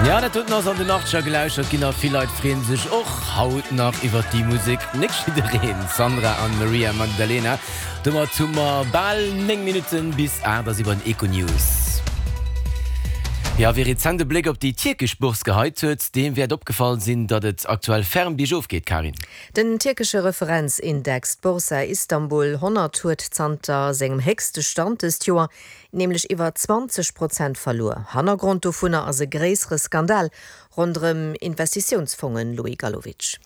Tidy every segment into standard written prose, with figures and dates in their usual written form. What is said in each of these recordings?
Ja, dat doten ass an den Achtzeger gelauschtert ginn a vill Leit freeën sech och haut nach iwwert déi Musek. Net jiddereen, Sandra an Maria Magdalena. Domat hu mer bal 9 Minutten bis 8 a si bei den Econews. Jo, wie rezent e Bléck op déi tierkesch Bourse geheit huet, deem wäert opgefall sinn, datt et aktuell ferm biergof geet, Karin. Den tierkesche Referenzindex, d'Borsa Istanbul 100, huet zanter sengem héchste Stand dëst Joer nämlech iwwer 20 Prozent verluer. Hannergrond dovunner ass e gréissere Skandal ronderëm Investitiounsfongen, Louis Galowitsch.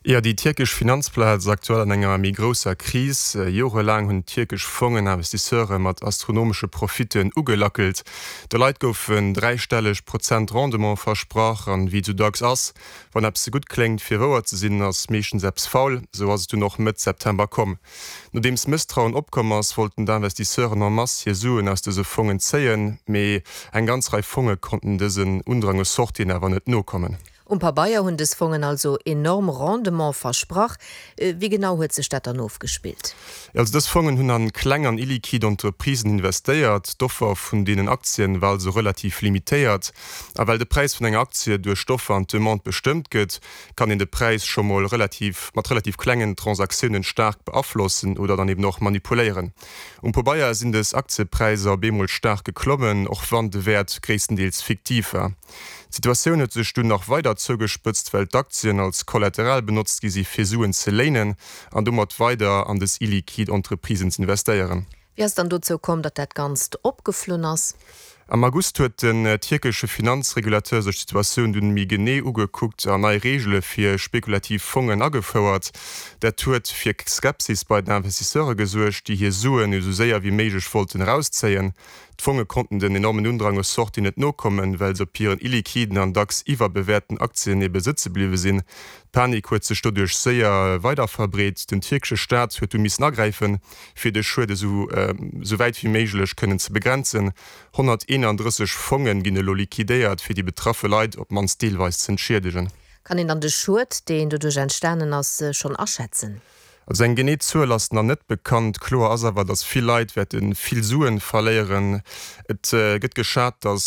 Jo, déi tierkesch Finanzplaz ass aktuell an enger méi grousser Kris. Jorelaang hunn tierkesch Fongen Investisseure mat astronomesche Profitten ugelackelt. De Leit goufen dräistelleg Prozent Rendement versprach. An wéi et sou dacks ass, wann eppes ze gutt kléngt fir wouer ze sinn, ass meeschtens eppes faul. Sou ass et dunn och Mëtt September komm. Nodeems Mësstrauen opkomm ass, wollten d'Investisseuren en masse hir Suen aus dëse Fongen zéien, mee eng ganz Rei Fonge konnten dësen Undrang u Sortien awer net nokommen. Um Pabeier hunn dës Fongen also enorm Rendement versprach. Wéi genau huet sech dat dann ofgespillt? Also dës Fongen hunn an kleng an illiquid Entreprisen investéiert. D'Offer vun deenen Aktien war also relativ limitéiert. A well de Präis vun enger Aktie duerch d'Offer an d'Demande bestëmmt gëtt, kann een de Präis scho mol relativ mat relativ klengen Transaktiounen staark beaflossen oder dann eben och manipuléieren. Um Pobeier sinn des Aktiepräisser op eemol staark geklommen, och wann de Wäert gréisstendeels fiktiv war. D'Situatioun huet sech dunn nach weider zougespëtzt, well d'Aktien als Kollateral benotzt gi si fir Suen ze léinen an domat weider an des illiquid Entreprisen z'investéieren. Wéi ass et dann dozou komm, datt dat Ganzt opgeflunn ass? Am August huet den tierkesche Finanzregulateur sech d'Situatioun dunn méi genee ugekuckt an nei Reegele fir spekulativ Fongen agefouert. Dat huet fir Skepsis bei den Investisseure gesuergt, déi hir Suen esou séier wéi méiglech wollten erauszéien. D'Fonge konnten den enormen Undrang u Sortien net nokommen, well se op hiren illiquiden an dacks iwwerbewäerten Aktien ebe sëtze bliwwe sinn. D'Panik huet sech doduerch séier weiderverbreet. Den tierkesche Staat huet du missen agräifen, fir de Schued esou wäit wéi méiglech kënnen ze begrenzen. 131 Fonge ginn elo liquidéiert, fir déi betraffe Leit op d'mannst deelweis z'entschiedegen. Kann een dann de Schued, deen doduerch entstanen ass, schonn aschätzen? Also eng genee Zuel ass nach net bekannt. Kloer ass awer, datt vill Leit wäerte vill Suen verléieren. Et gëtt geschat, datt.